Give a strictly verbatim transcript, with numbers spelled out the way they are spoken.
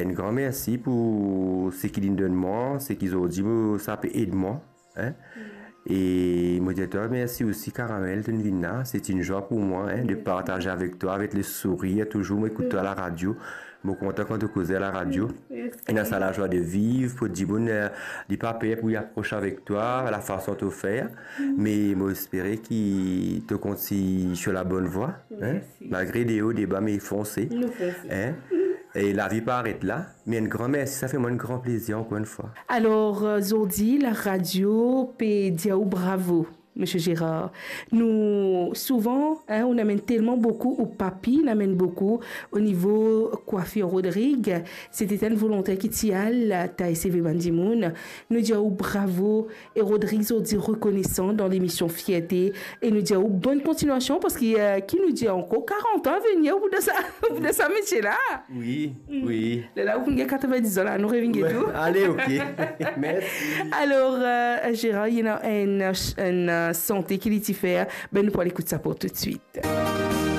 Enn gran mersi pou seki linn donn mwa, seki zordi mo, sa pe ed mwa, hein. E mo dir twa mersi osi, Caramel, to'nn vinn la. Se enn zwa pou mwa, hein, de partaze avek twa, avek le sourir. Touzour mo ekout twa a la radio. Mo kontan kan to koze a la radio. Ena sa lazwa de viv, pou dimoun, eh, li pa per pou li apros avek twa, lafason to fer. Me mo espere ki to kontign sir la bonn vwa, hein. Mersi. Malgre de o, de ba, me fonse. Nou fonse. Hein? E lavi pa aret la, me enn gran mersi, sa fer mwa enn gran plezir ankor enn fwa. Alor, eh, zordi, la radio pe dir ou bravo, Misie Gérard. Nou, souvan, hein, ou amenn telman boukou, ou papi, ou amenn boukou o nivo kwafir Rodrig. Se ti enn volonter ki ti al, ti al seve bann dimoun. Nou dir ou bravo, e Rodrig zordi rekonesan dan lemision Fierte, e nou dir ou bonn kontignasion, parski, eh, ki nou dir ankor, karant an a venir pou dan sa, pou dan sa metie la. Wi, wi. Lerla ou pou gagn katrevendiz an la, nou revinn get ou. Ale, ok. Mersi. Alor, eh, Gérard, ena enn, enn, eh, sante ki li ti fer, be nou pou al ekout sa pou toutswit.